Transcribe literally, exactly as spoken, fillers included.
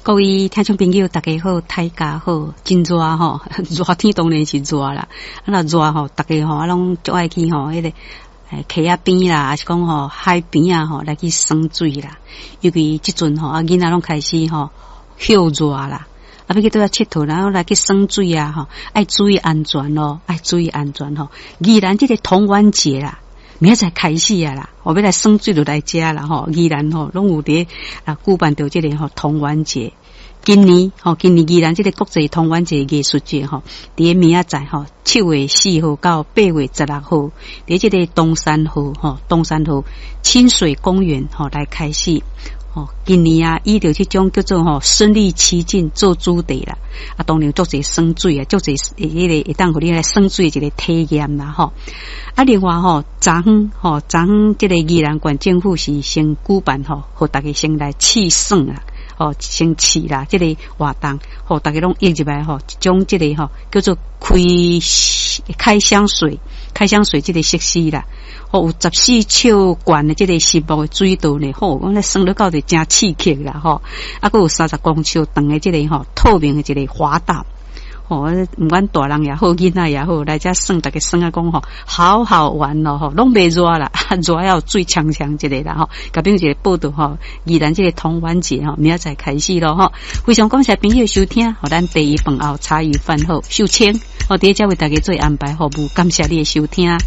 各位聽眾朋友，大家好，大家好，真熱吼，熱天當然是熱啦。啊，若熱吼，逐家吼啊攏足愛去吼，彼個溪仔邊啦，抑是講吼海邊啊吼，來去耍水啦。尤其這陣吼，啊囡仔攏開始吼歇熱啦，啊欲去佗位𨑨迌，然後來去耍水啊吼，愛注意安全咯，愛注意安全吼。宜蘭這個童玩節啦，明仔載開始啊啦，欲來耍水就來遮啦吼。宜蘭吼攏有佇啊舉辦著這個吼童玩節。今年吼，今年宜蘭這個國際童玩節藝術節吼，佇明仔載吼七月四號到八月十六號，佇這個東山河吼，東山河親水公園吼來開始。吼，今年啊，以著這種叫做吼身歷其境做主題啦。啊，當然足濟耍水啊，足濟彼個會當予你來耍水的一個體驗啦吼。啊，另外吼，昨昏吼，昨昏這個宜蘭縣政府是先舉辦吼，予大家先來試耍啦。吼，先試啦，這個活動，予大家攏約入來吼，一種這個吼叫做開開箱水、開箱水這個設施啦，吼有十四尺懸的這個實木的水道呢，吼，講咧耍落到底誠刺激啦，吼，啊，閣有三十公尺長的這個吼透明的一個滑道。吼，毋管大人也好，囡仔也好，來遮耍，逐家耍啊講吼，好好玩哦，吼，攏袂熱啦，熱還有水沖沖一下啦，吼，共朋友一個報道吼，宜蘭這個童玩節吼，明仔載開始咯，吼，非常感謝朋友收聽，予咱茶餘飯後茶餘飯後秀清，我佇遮為大家做安排服務，感謝你的收聽。